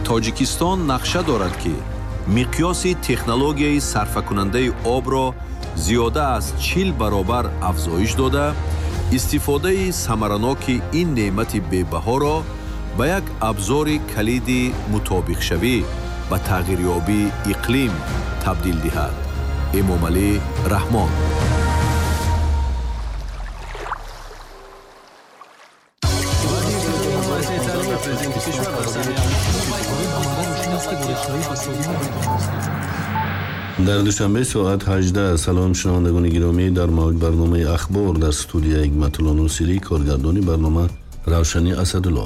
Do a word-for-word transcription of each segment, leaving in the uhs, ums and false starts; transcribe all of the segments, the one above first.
Тоҷикистон нақша дорад, ки миқёси технологияи сарфакунандаи обро зиёда аз чил баробар афзоиш дода, истифодаи самараноки ин неъмати бебаҳоро ба як абзори калиди мутобиқшавӣ ба тағйирёбии иқлим табдил диҳад. Эмомалӣ Раҳмон. Дар Душанбе соат ҳаждаҳ. Салом, шунавандагони гиромӣ, дар мавҷ барномаи «Ахбор», дар студия Ҳикматулло Носирӣ, коргардони барнома Равшани Асадулло.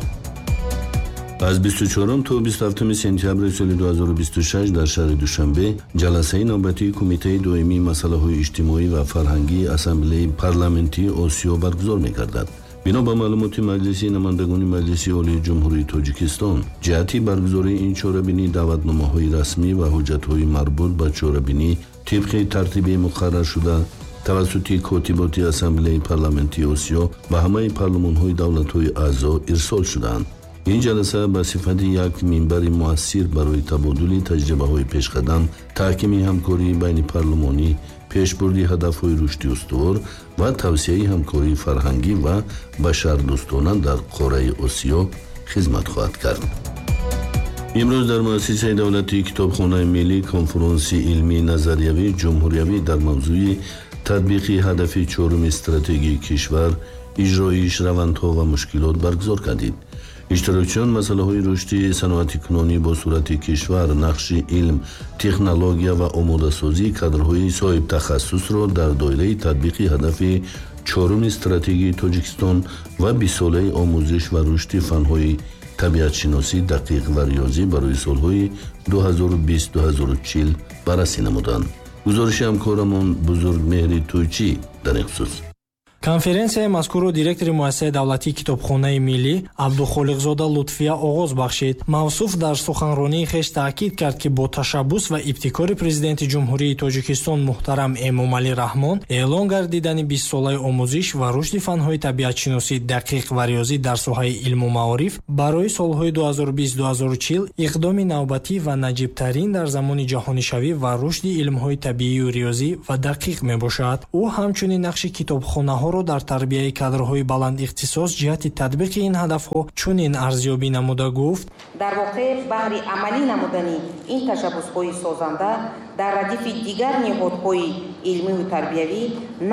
Аз бисту чорум то бисту ҳафтуми сентябри соли ду ҳазору бисту шаш дар шаҳри Душанбе ҷаласаи навбатии Кумитаи доимии масъалаҳои иҷтимоӣ ва фарҳангии Ассамблеи парламентии Осиё баргузор мегардад. Бино ба маълумоти Маҷлиси намояндагони Маҷлиси Олии Ҷумҳурии Тоҷикистон, ҷиҳати баргузории ин чорабинӣ даъватномаҳои расмӣ ва ҳуҷҷатҳои марбут ба чорабинӣ тибқи тартиби муқарраршуда тавассути котиботи Ассамблеи парламентии Осиё ба ҳамаи парлумонҳои давлатҳои аъзо ирсол шудаанд. Ин ҷаласа ба сифати як минбари муассир барои табодули таҷрибаҳои пешқадам, таҳкими ҳамкории байнипарлумонӣ, пешбурди ҳадафҳои рушди устувор ва тавсияи ҳамкории фарҳангӣ ва башардӯстона дар қораи Осиё хизмат хоҳад кард. Имрӯз дар муассисаи давлатии Китобхонаи миллӣ конфронси илмии назариявии ҷумҳуриявӣ дар мавзӯи татбиқи ҳадафи чоруми стратегии кишвар, иҷроиш, равандҳо ва мушкилот баргузор гардид. Иштирокчиён масъалаҳои рушди саноатикунонӣ бо сурати кишвар, нақши илм, технология ва омодасозии кадрҳои соҳибтахассусро дар доираи татбиқи ҳадафи чоруми стратегии Тоҷикистон ва бистсолаи омӯзиш ва рушди фанҳои табиатшиносӣ, дақиқ ва риёзӣ барои солҳои ду ҳазору бист ду ҳазору чил баррасӣ намуданд. Гузориши ҳамкорамон Бузургмеҳри Тӯйчӣ дар ин хусус. Конференсияи мазкурро директори муассисаи давлатии Китобхонаи миллӣ Абдухолиқзода Лутфия оғоз бахшид. Мавсуф дар суханронии хеш таъкид кард, ки бо ташаббус ва ибтикори Президенти Ҷумҳурии Тоҷикистон муҳтарам Эмомалӣ Раҳмон эълон гардидани бистсолаи омӯзиш ва рушди фанҳои табиатшиносӣ, дақиқ ва риёзӣ дар соҳаи илму маориф барои солҳои ду ҳазору бист ду ҳазору чил иқдоми навбатӣ ва наҷибтарин дар замони ҷаҳонишавӣ ва рушди илмҳои табиию риёзӣ ва дақиқ мебошад. Ӯ ҳамчунин нақши китобхонаҳо дар тарбияи кадрҳои баландихтисос ҷиҳати татбиқи ин ҳадафҳо чунин арзёбӣ намуда гуфт: дар воқеъ баҳри амалӣ намудани ин ташаббусҳои созанда дар радифи дигар ниҳодҳои илмию тарбиявӣ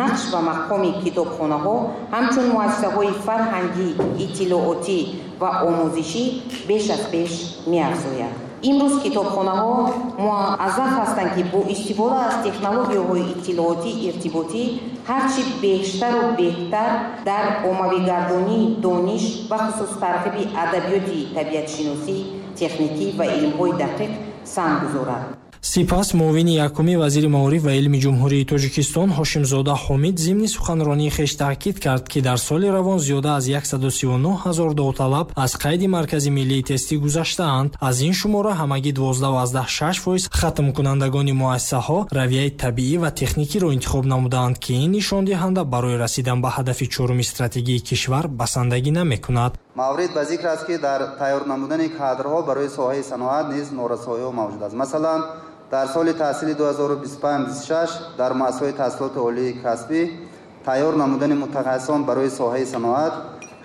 нақш ва мақоми китобхонаҳо ҳамчун муассисаҳои фарҳангӣ, иттилоотӣ ва омӯзишӣ беш аз пеш меафзояд. Имрӯз китобхонаҳо муаззаф ҳастанд, ки бо истифода аз технологияҳои иттилоотӣ иртиботӣ ҳарчи бештару беҳтар дар оммавигардонии дониш, бахусус тарғиби адабиёти табиатшиносӣ, техникӣ ва илмҳои дақиқ саҳм гузорад. Сипас муовини якуми вазири маориф ва илми Ҷумҳурии Тоҷикистон Ҳошимзода Ҳомид зимни суханронии хеш таъкид кард, ки дар соли равон зиёда аз яксаду сию нӯҳ ҳазор довталаб аз қайди Маркази миллии тестӣ гузаштаанд. Аз ин шумора ҳамагӣ дувоздаҳ аз даҳ шаш фоиз хатмкунандагони муассисаҳо равияи табиӣ ва техникиро интихоб намудаанд, ки ин нишондиҳанда барои расидан ба ҳадафи чоруми стратегии кишвар басандагӣ намекунад. Маврид ба зикр аст, ки дар тайёр намудани кадрҳо барои соҳаи саноат низ норасоиҳо мавҷуд аст. Масалан, дар соли таҳсили ду ҳазору бисту панҷ бисту шаш дар муассисаҳои таҳсилоти олии касбӣ тайёр намудани мутахассисон барои соҳаи саноат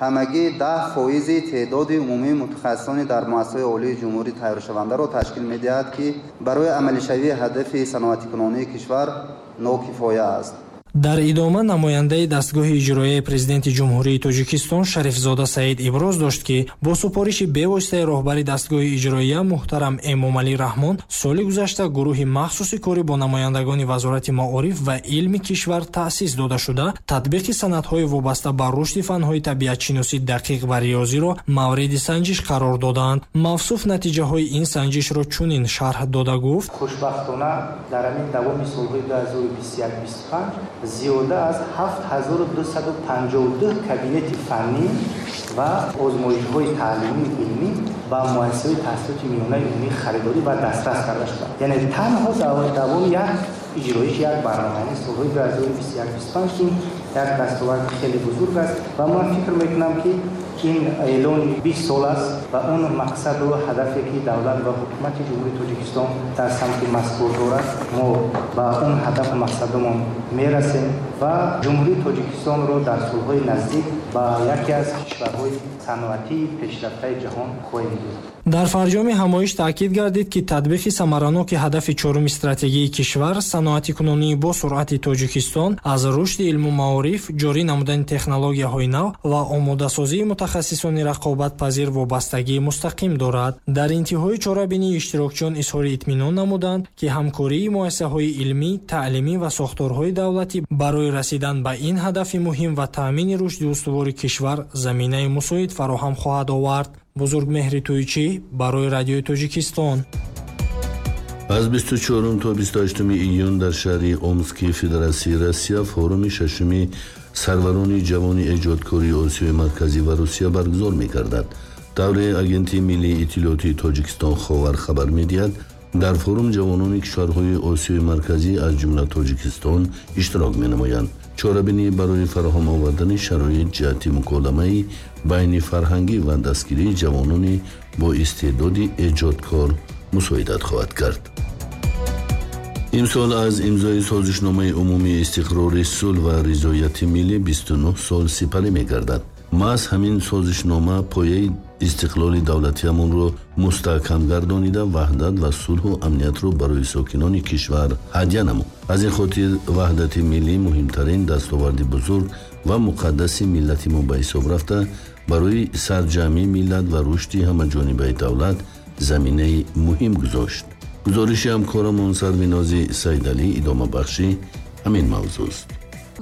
ҳамагӣ даҳ фоизи теъдоди умумии мутахассисони дар муассисаҳои олии ҷумҳурӣ тайёршавандаро ташкил медиҳад, ки барои амалишавии ҳадафи саноатикунонии кишвар нокифоя аст. Дар идома намояндаи дастгоҳи иҷроияи Президенти Ҷумҳурии Тоҷикистон Шарифзода Саид иброз дошт, ки бо супориши бевоситаи роҳбари дастгоҳи иҷроия муҳтарам Эмомалӣ Раҳмон соли гузашта гурӯҳи махсуси корӣ бо намояндагони Вазорати маориф ва илми кишвар таъсис дода шуда, татбиқи санадҳои вобаста ба рушди фанҳои табиатшиносӣ, дақиқ ва риёзиро мавриди санҷиш қарор додаанд. Мавсуф натиҷаҳои ин санҷишро чунин шарҳ дода гуфт: хушбахтона дар ҳамин давоми солҳои ду ҳазору бисту як бисту панҷ зиёда аз ҳафт ҳазору дусаду панҷоҳу ду кабинети фаннӣ ва озмоишҳои таълимии илмӣ ба муассисаҳои таҳсилоти миёнаи умумӣ харидорӣ ва дастрас карда шуданд. Яъне танҳо дар давоми як иҷроиш як барнома, яъне солҳои ду ҳазору бисту як бисту панҷ, ки як дастоварди хеле бузург аст ва ман фикр мекунам, ки Ин эълони бист сол аст ва он мақсаду ҳадафе ки давлат ва ҳукумати Ҷумҳурии Тоҷикистон дар самти мазкур дорад, мо ба он ҳадафу мақсадамон мерасем ва Ҷумҳурии Тоҷикистонро дар солҳои наздик ба яке аз кишварҳои саноатии пешрафтаи ҷаҳон хоҳем дид. Дар фарҷоми ҳамоиш таъкид гардид, ки татбиқи самараноки ҳадафи чоруми стратегии кишвар, саноатикунонии бо суръати Тоҷикистон аз рушди илму маориф, ҷорӣ намудани технологияҳои нав ва омодасозии мутахассисони рақобатпазир вобастагии мустақим дорад. Дар интиҳои чорабинӣ иштирокчиён изҳори итминон намуданд, ки ҳамкории муассисаҳои илмӣ, таълимӣ ва сохторҳои давлатӣ барои расидан ба ин ҳадафи муҳим ва таъмини рушди устувори кишвар заминаи мусоид фароҳам хоҳад овард. Бузургмеҳри Тӯйчӣ барои Радиои Тоҷикистон. Аз бисту чорум то бисту ҳаштуми июн дар шаҳри Омски Федератсияи Россия форуми шашуми сарварони ҷавони эҷодкории Осиёи Марказӣ ва Русия баргузор мегардад. Давраи Агентии миллии иттилоотии Тоҷикистон Ховар хабар медиҳад, дар форум ҷавонони кишварҳои Осиёи Марказӣ аз ҷумла Тоҷикистон иштирок менамоянд. Чорабинӣ барои фароҳам овардани шароит ҷиҳати муколамаи байни фарҳангӣ ва дастгирии ҷавонони бо истеъдоди эҷодкор мусоидат хоҳад кард. Имсол аз имзои созишномаи умумии истиқрори сулҳ ва ризояти миллӣ бисту нӯҳ сол сипарӣ мегардад. Маҳз ҳамин созишнома пояи истиқлоли давлатиамонро мустаҳкам гардонида, ваҳдат ва сулҳу амниятро барои сокинони кишвар ҳадя намуд. Аз ин хотир ваҳдати миллӣ муҳимтарин дастоварди бузург ва муқаддаси миллати мо ба ҳисоб рафта, барои сарҷамъии миллат ва рушди ҳамаҷонибаи давлат заминаи муҳим гузошт. Гузориши ҳамкорамон Сарвинози Сайдалӣ идомабахши ҳамин мавзӯст.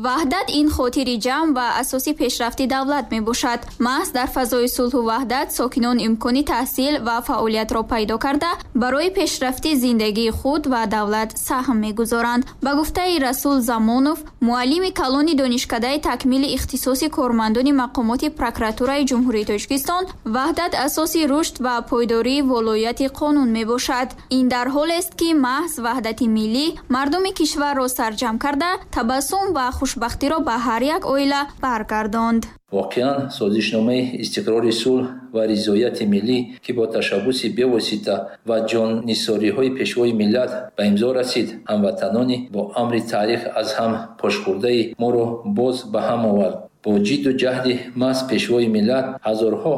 Ваҳдат ин хотири ҷамъ ва асоси пешрафти давлат мебошад. Маҳз дар фазои сулҳу ваҳдат сокинон имкони таҳсил ва фаъолиятро пайдо карда, барои пешрафти зиндагии худ ва давлат саҳм мегузоранд. Ба гуфтаи Расул Замонов, муаллими калони донишкадаи такмили ихтисоси кормандони мақомоти прокуратураи Ҷумҳурии Тоҷикистон, ваҳдат асоси рушд ва пойдории волояти қонун мебошад. Ин дар ҳолест, ки маҳз ваҳдати миллӣ мардуми кишварро сарҷамъ карда, табассум ва хушбахтиро ба ҳар як оила баргардонд. Воқеан созишномаи истиқрори сулҳ ва ризояти миллӣ, ки бо ташаббуси бевосита ва ҷоннисориҳои пешвои миллат ба имзо расид, ҳамватанони бо амри таърих аз ҳам пошхӯрдаи моро боз ба ҳам овард. Бо ҷидду ҷаҳди маҳз пешвои миллат ҳазорҳо